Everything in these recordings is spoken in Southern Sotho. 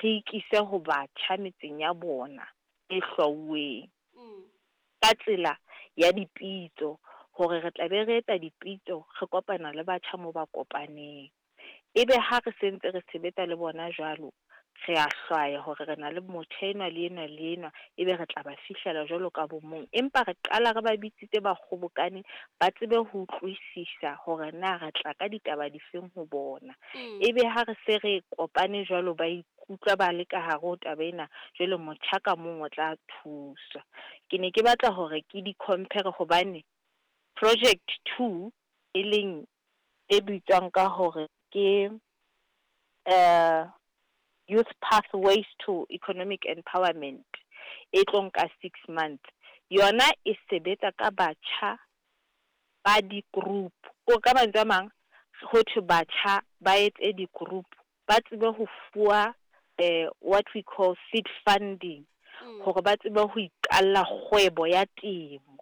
re ikise ho batjha metseng ya bona e hlwauweng ka tsela ya dipitso, hore re tla be re etsa dipitso, re kopana le batjha mo ba kopaneng. Ebe ha re sentse re sebetsa le bona jwalo, re a hlwaya hore re na le motjha enwa le enwa le enwa, ebe re tla ba fihlela jwalo ka bo mong. Empa re qala re ba bitsitse ba kgobokane, ba tsebe ho utlwisisa hore na re tla ka ditaba difeng ho bona. Ebe ha re se re kopane jwalo, ba ikutlwa ba le ka hare ho taba ena, jwale motjha ka mong o tla thuswa. Ke ne ke batla hore ke di-compare hobane project 2 e leng e bitswang ka hore ke Youth Pathways to Economic Empowerment, e tlo nka 6 months. Yona e sebetsa ka batjha ba di-group. O ka mantswe a mang, ho thwe batjha ba etse di-group, ba tsebe ho fuwa what we call seed funding, hore ba tsebe ho iqalla kgwebo ya temo.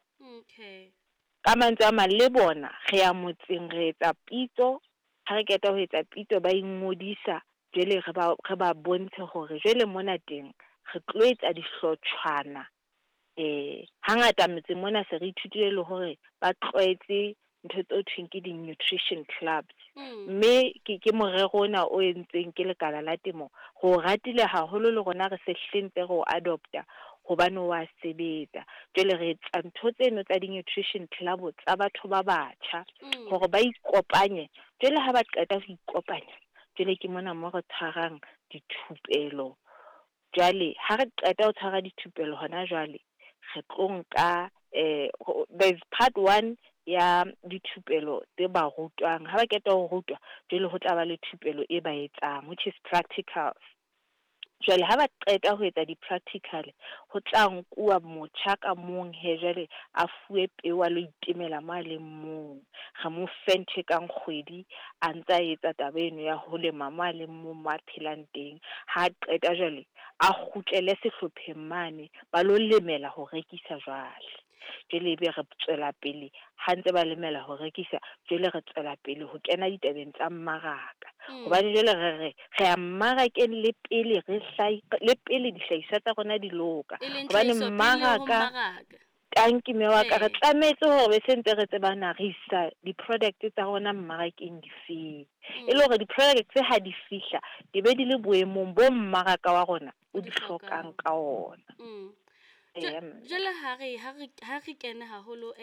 Ka mantswe a mang, le bona re ya motseng, re etsa pitso. Ha re qeta ho etsa pitso, ba ingodisa. Jwale re ba bontshe hore jwale mona teng re tlo etsa dihlotshwana. Hangata metseng mona se re ithutile le hore ba tlwaetse ntho tse thweng ke di-nutrition clubs, mme ke morero ona o entsweng ke lekala la temo. Re o ratile haholo, le rona re se hlentse re o adopta hobane wa sebetsa. Jwale re etsa ntho tseno tsa di-nutrition club tsa batho ba batjha hore ba ikopanye. Jwale ha ba qeta ho ikopanya, jwale ke mona mo re tshwarang dithupelo. Jwale ha re qeta ho tshwara dithupelo hona jwale, re tlo nka there's part one ya dithupelo tse ba rutwang. Ha ba qeta ho rutwa, jwale ho tla ba le thupelo e ba etsang, which is practicals. Jwale ha ba qeta ho etsa di-practical, ho tla nkuwa motjha ka mong he, jwale a fuwe peo, a lo itemela mo a leng mong. Re mo fe ntho e kang kgwedi a ntsa etsa taba eno ya ho lema mo a leng mong, mo a phelang teng. Ha qeta, jwale a kgutlele sehlopheng mane, ba lo lemela ho rekisa. Jwale ebe re tswela pele ha ntse ba lemela ho rekisa. Jwale re tswela pele ho kena ditabeng tsa mmaraka, hobane jwale re ya mmarakeng le pele re le pele dihlahiswa tsa rona di loka. E leng hobane tlhahiso pele ho mmaraka mmaraka. Tanki mme wa ka, re tlametse hore be se ntse re tseba na re isa di-product tsa rona mmarakeng difeng, e le hore di-product ha di fihla di be di le boemong bo mmaraka wa rona o di di hlokang. Hlokang ka ona. Eya, mme. Jwale ha re kene haholo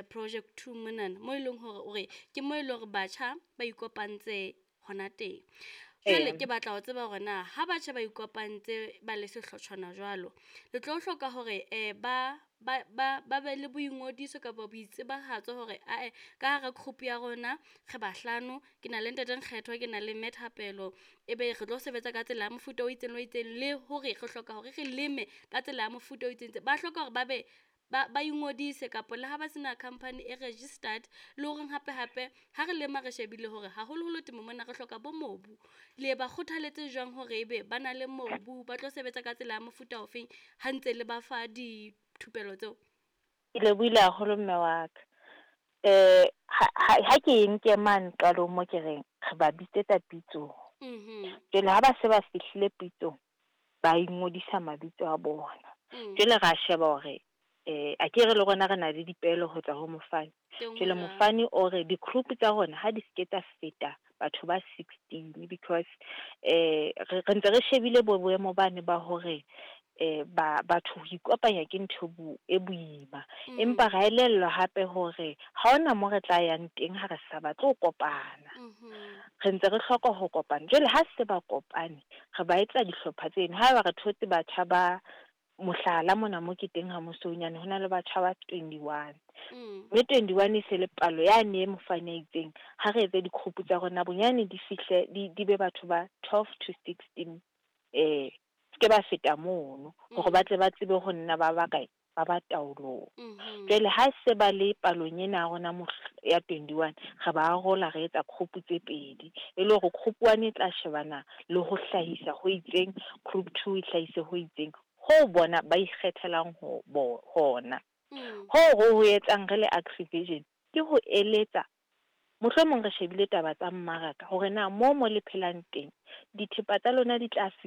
project 2 monana, mo e leng hore o re ke mo e leng hore batjha ba ikopantse hona teng. Jwale ke batla ho tseba hore na ha batjha ba ikopantse ba le sehlotshwana jwalo, le tlo hloka hore ba be le boingodiso kapa boitsebahatso hore ae, ka hara group ya rona re bahlano, ke na le ntate Nkgetho, ke na le mme Thapelo, ebe re tlo sebetsa ka tsela ya mofuta o itseng le o itseng, le hore re hloka hore re leme ka tsela ya mofuta o itseng. Ba hloka hore ba be ba ingodise, kapa le ha ba sena company e registered, le horeng hape hape ha re lema re shebile hore haholoholo temo mona re hloka bo mobu. Le ba kgothaletse jwang hore ebe ba na le mobu, ba tlo sebetsa ka tsela ya mofuta ofeng ha ntse le ba fa dithupelo tseo? Ke lebohile haholo, mme wa ka. Ha ke e nke mane qalong mo ke reng re ba bitsetsa pitsong. Jwale ha ba se ba fihlile pitsong, ba ingodisa mabitso a bona. Jwale ra sheba hore a ke re le rona re na le dipehelo ho tswa ho mofani. Teng ho Jwale jwalo. Mofani o re di-group tsa rona ha di ske tsa feta batho ba 16, because re ntse re shebile bo boemo bane ba hore ba batho ho ikopanya ke ntho e boima. Empa ra elellwa hape hore ha hona mo re tla yang teng ha re sa batle ho kopana. Re ntse re hloka ho kopana. Jwale ha se ba kopane, re ba etsa dihlopha tseno. Haeba re thotse batjha ba, mohlala, mona mo ke teng ha Mosoonyane, ho na le batjha ba 21. Mme 21 e se le palo yane e mofani a itseng ha re etse di-group tsa rona bonyane di fihle di be batho ba 12 to 16, ske ba feta mono, hore ba tle ba tsebe ho nna ba ba kae, ba ba taolong. Jwale ha se ba le palong ena ya rona ya 21, re ba arola, re etsa group tse pedi, e le hore group one e tla shebana le ho hlahisa ho itseng, group two e hlahise ho itseng, ho bona ba ikgethelang ho bo hona. Hoo re ho etsang re le Agrivision ke ho eletsa, mohlomong re shebile taba tsa mmaraka, hore na mo le phelang teng dithepa tsa lona di tla.